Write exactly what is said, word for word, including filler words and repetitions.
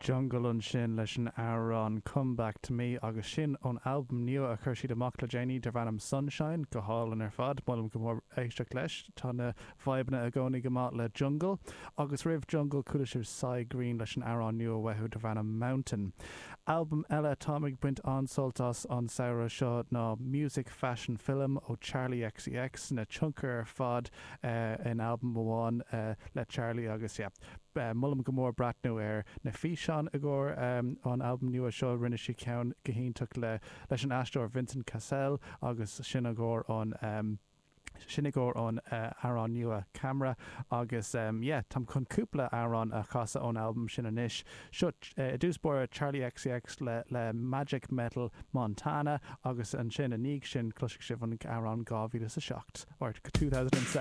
Jungle ansin leis an amhrán Come Back to Me agus sin ón albam nua a chuir siad amach le déanaí darb ainm Sunshine go hálainn ar fad molaim go mór éisteacht leis tá na vibeanna i gcónaí go maith le Jungle agus roimh Jungle chuala sibh Si Green leis an amhrán nua uathu darb ainm Mountain. Albam eile táim ag baint an-sult as an samhradh seo ná Music Fashion Film ó Charli XCX na tionchair ar fad uh, in albam amháin uh, le Charli agus yeah, uh, molaim go mór breathnú ar na físeáin i gcomhair um, an albam nua seo rinne sí ceann go hiontach le leis an aisteoir Vincent Cassel agus sin i gcomhair an um, sin i gcomhair an uh, amhrán nua Camera agus um, yeah, Táim chun cúpla amhrán a chasadh ón albam sin anois. Seo uh, dtús báire Charli XCX le, le Magic Metal Montana agus ansin ina dhiaidh sin cloisfidh sibh an amhrán dhá mhíle seacht or two thousand and seven.